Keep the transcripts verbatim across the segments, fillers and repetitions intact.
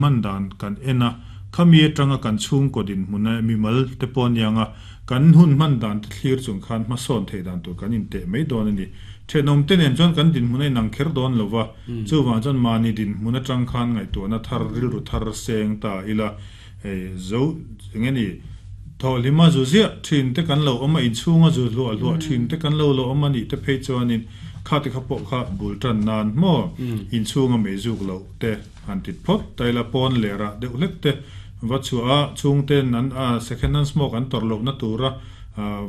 Man dan kan en a, khami atanga kan chhungkaw dinhmun a mimal te pawh aniang a, kan hun hman dan te thlir chung khan hmasawn theih dan tur kan inteh mai dawn a ni. Thenawm te nen chuan kan dinhmun a inang kher dawn lo va, chuvang chuan mahni dinhmun atang khan ngaihtuahna thar, rilru thar seng ta ila, hei zo eng nge ni, thawhhlima zu ziah thin te kan lo awm a, inchhunga zu hluah hluah thin te kan lo lo awm a nih te phei chuanin kha te kha pawh kha bul tan nan maw inchhunga mei zuk loh te han tit phawt ta ila pawn leh rah deuh hlek te va chhuah a chhungten an a second hand smoke an tawrh lohna tura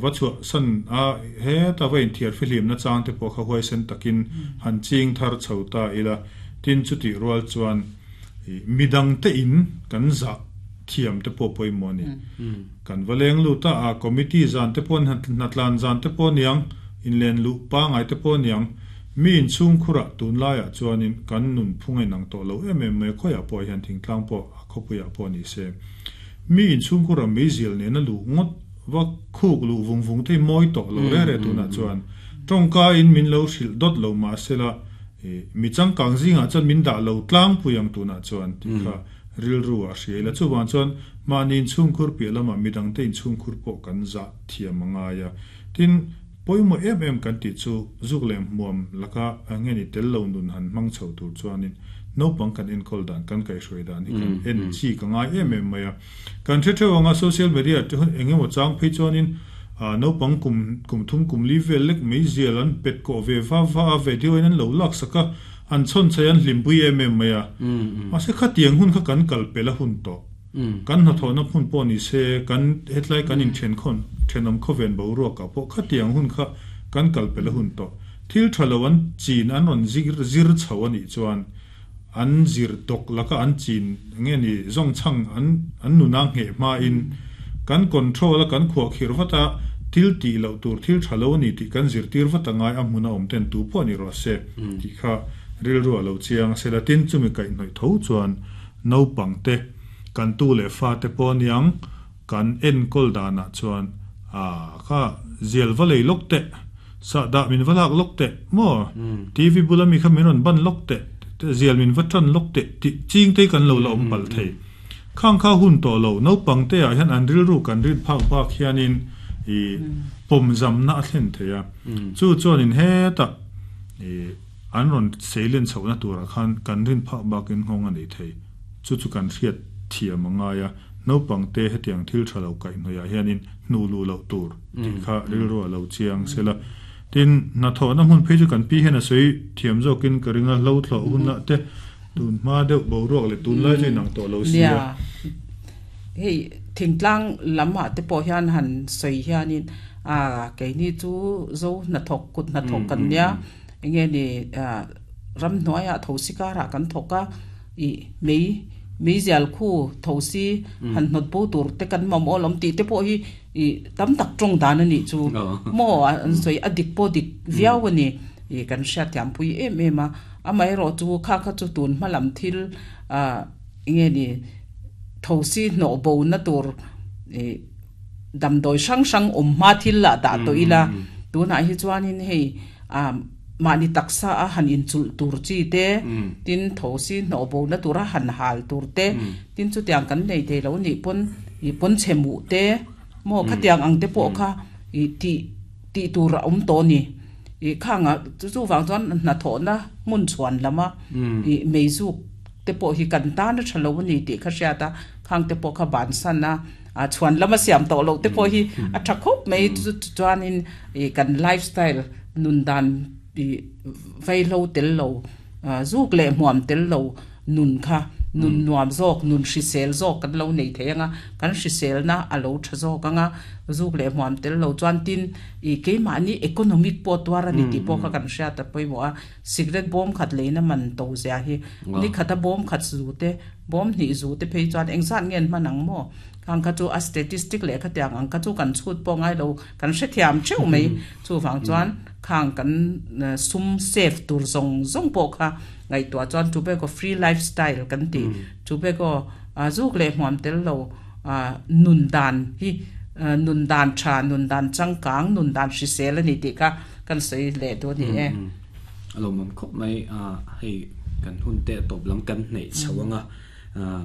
va chhuah san a heta va inthiar fihlim na chang te pawh kha huaisen takin han ching thar chho ta ila tin chutih rual chuan midang te in kan zah thiam te pawh pawimawh a ni. Kan va leng lut a, a committee zan te pawh hnatlan zan te pawh aniang, inlen luh pangai te pawh aniang, mi inchhungkhurah tunlaiah chuanin kan nunphung a inang tawh lo em em mai a, khawiah pawh hian thingtlang pawh a khawpuiah pawh ni se. Mi inchhungkhurah meizial nena luh ngawt va khuk luh vung vung te hi mawi tawh lo re re tunah chuan tawngka in min lo hrilh dawt lo mahsela mi changkang zingah chuan min dah lo tlangpui ang tunah chuan tih kha rilru a hria ila. Chuvang chuan mahni inchhungkhur piah lamah midangte inchhungkhur pawh kan zah thiam a ngai a. Tin, pawimawh em em kan tih chu zuk leh hmuam laka nge ni tel lo nun han hmang chho tur chuanin naupang kan enkawl dan, kan kaihhruai dan hi kan en chi ka ngai em em mai a. Kan hre theuh anga social media te hun eng emaw chang phei chuanin naupang kum kum thum kum li vel lek mai zial an pet kawh ve va va a, video in an lo lak sak a, an chhawn chei an hlimpui em em mai a. Mahse khatiang hun kha kan kal pel a hun tawh. Kan hnathawhna hmun pawh ni se, kan hetlai kan inthen thenawm khawven boruakah pawh khatiang hun kha kan kal pel a hun tawh. Thil tha lo an chin an rawn zir zir chho a nih chuan an zir tawk laka an chin nge ni zawngchhang an an nuna ngheh hmain kan control a kan khuahkhirh vat a, thil tih loh tur thil tha lo a ni tih kan zirtir vat a ngai a hmun a awm ten tu pawh ni rawh se tih kha rilru a lo chiang a sela tin chumi kaihhnawih tho chuan naupangte kan tu leh fate pawh aniang kan enkawl danah chuan ah kha zial va lei lawk teh, sahdah min va lak lawk teh maw, T V bula mi kha min rawn ban lawk teh, zial min va tan lawk teh tih ching te hi kan lo la awm palh thei. Khang kha hun tawh lo, naupang te ah hian an rilru kan rin phak bak hianin ih pawmzamna a thlen thei a, chu chuanin hetah ih an rawn seilen chhohna turah khan kan rin phak bakin nghawng a nei thei. Chu chu kan hriat thiam a ngai a, naupang te hetiang thil tha lo kaihhnawih ah hianin hnuh luh loh tur tih kha rilru a lo chiang sela. Tin, hnathawhna hmun phei chu kan pi hian a sawi thiam zawkin ka ring a, hlo thlawh hunah te tun hma deuh boruak leh tunlai chu inang tawh lo si a. Nia, hei thingtlang lamah te pawh hian han sawi hianin a keini chu zo hnathawk kut hnathawk kan nia, enge ni ramhnuaiah thosi karah kan thawk a, ih mei meizial khu thosi han hnawt bo tur te kan mamawh alawm tih te pawh hi ih tam tak tawng dan a nih chu maw an sawi a dik pawh dik viau a ni ih kan hriatthiampui em em a, amaherawh chu kha kha chu tun hma lam thil ah enge ni thosi hnawh bo na tur ih damdawi hrang hrang awm hma thil lah dah tawh ila tunah hi chuanin hei ah mahni taksa a han inchulh tur chi te, tin thosi hnawh bo na tura han hal tur te, tin chutiang kan nei thei lo nih pawn ih pawn chhe muh te maw khatiang ang te pawh kha ih tih tih tur a awm tawh a ni. Ih khangah chu chuvang chuan hnathawhna hmun chhuan lama ih meizuk te pawh hi kan tan a tha lo a ni tih kha hriat a, khang te pawh kha bansan a, a chhuan lama siam tawh loh te pawh hi a tha khawp mai chu chuanin ih kan lifestyle nun dan ih vaihlo tel lo zuk leh hmuam tel lo nun kha nun nuam zawk nun hrisel zawk kan lo nei thei anga kan hriselna a lo tha zawk anga zuk leh hmuam tel lo chuan tin ih keimahni economic pawh tuar a ni tih pawh kha kan hriat a pawimawh a, cigarette bawm khat leina man to zia hi ni khata bawm khat zu te bawm hnih zu te phei chuan engzat nge an hman ang maw khang kha chu a statistic leh khatiang ang kha chu kan chhut pawh ngai lo kan hrethiam theuh mai chuvang chuan khang kan sum save tur zawng zawng pawh kha ngaihtuah chuan tobacco free lifestyle kan tih tobacco zuk leh hmuam tel lo nun dan hi nun dan tha nun dan changkang nun dan hrisel a ni tih kha kan sawi leh duh a ni e. A lawmawm khawp mai a, hei kan hun te tawp lam kan hneih chho anga Ah,